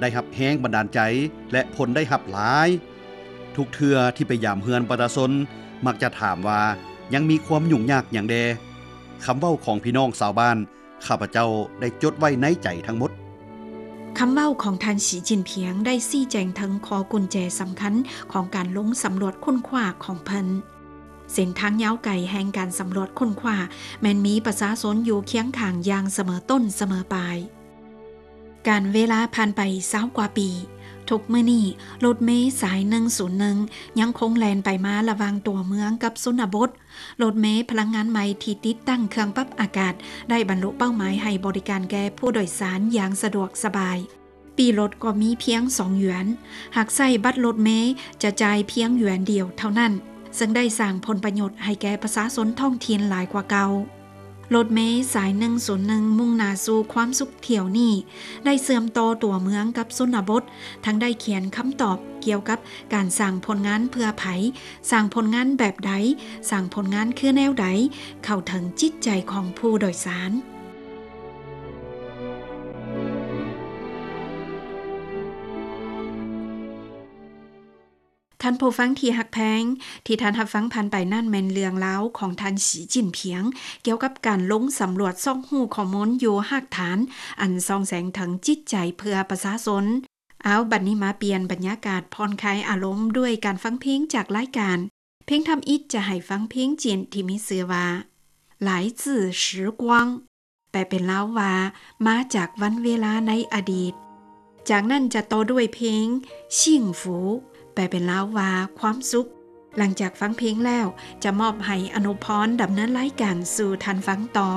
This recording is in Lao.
ໄດ້ຮັບແຮງບັນດານໃຈ ແລະ ຜົນໄດ້ຮັບຫຼາຍ. ທຸກເທື່ອທີ່ໄປຢາມເຮືອນປະຊາຊົນ ມັກຈະຖາມວ່າ ຍັງມີຄວາມຫຍຸ້ງຍາກຫຍັງແດ່? ຄຳເວົ້າຂອງພີ່ນ້ອງຊາວບ້ານ ຂ້າພະເຈົ້າໄດ້ຈົດໄວ້ໃນໃຈທັງໝົດ. ຄຳເວົ້າຂອງທ່ານ ສີຈິ້ນຜິງ ໄດ້ຊີ້ແຈງເຖິງຂໍ້ກຸນແຈສຳຄັນຂອງການລົງສຳຫຼວດຄົ້ນຄວ້າຂອງເພິ່ນ. ເສັ້ນທາງຍາວໄກແຫ່ງການສຳຫຼວດຄົ້ນຄວ້າ ແມ່ນມີປະຊາຊົນຢູ່ຄຽງຂ້າງຢ່າງສະເໝີຕົ້ນສະເໝີປາຍ. ການເວລາຜ່ານໄປຊາວກວ່າປີ, ທຸກມື້ນີ້ ລົດເມສາຍໜຶ່ງສູນໜຶ່ງ ຍັງຄົງແລ່ນໄປມາລະຫວ່າງຕົວເມືອງກັບຊົນນະບົດ. ລົດເມພະລັງງານໃໝ່ທີ່ຕິດຕັ້ງເຄື່ອງປັບອາກາດ ໄດ້ບັນລຸເປົ້າໝາຍໃຫ້ບໍລິການແກ່ຜູ້ໂດຍສານຢ່າງສະດວກສະບາຍ. ປີ້ລົດກໍມີພຽງສອງຢວນ. ຫາກໃຊ້ບັດລົດເມຈະຈ່າຍພຽງຢວນດຽວເທົ່ານັ້ນ, ເຊິ່ງໄດ້ສ້າງຜົນປະໂຫຍດໃຫ້ແກ່ປະຊາຊົນທ້ອງຖິ່ນຫຼາຍກວ່າເກົ່າ. ລົດເມສາຍໜຶ່ງສູນໜຶ່ງ ມຸ່ງໜ້າສູ່ຄວາມສຸກຖ້ຽວນີ້ ໄດ້ເຊື່ອມຕໍ່ຕົວເມືອງກັບຊົນນະບົດ, ທັງໄດ້ຂຽນຄຳຕອບກ່ຽວກັບການສ້າງຜົນງານເພື່ອໃຜ, ສ້າງຜົນງານແບບໃດ, ສ້າງຜົນງານຄືແນວໃດ, ເຂົ້າເຖິງຈິດໃຈຂອງຜູ້ໂດຍສານ. ທ່ານຜູ້ຟັງທີ່ຮັກແພງ, ທີ່ທ່ານຮັບຟັງຜ່ານໄປນັ້ນແມ່ນເລື່ອງລາວຂອງທ່ານ ສີຈິ້ນຜິງ ກ່ຽວກັບການລົງສຳຫຼວດຊອກຮູ້ຂໍ້ມູນຢູ່ຮາກຖານ ອັນສ່ອງແສງເຖິງຈິດໃຈເພື່ອປະຊາຊົນ. ເອົາ, ບັດນີ້ມາປ່ຽນບັນຍາກາດຜ່ອນຄາຍອາລົມດ້ວຍການຟັງເພງຈາກລາຍການ. ເພງທຳອິດຈະໃຫ້ຟັງເພງຈີນທີ່ມີຊື່ວ່າ 来自时光 ແປເປັນລາວວ່າ ມາຈາກວັນເວລາໃນອະດີດ. ຈາກນັ້ນຈະຕໍ່ດ້ວຍເພງ 幸福 ແປເປັນລາວວ່າ ຄວາມສຸກ. ຫຼັງຈາກຟັງເພງແລ້ວ ຈະມອບໃຫ້ອະນຸພອນດຳເນີນລາຍການສູ່ທ່ານຟັງຕໍ່.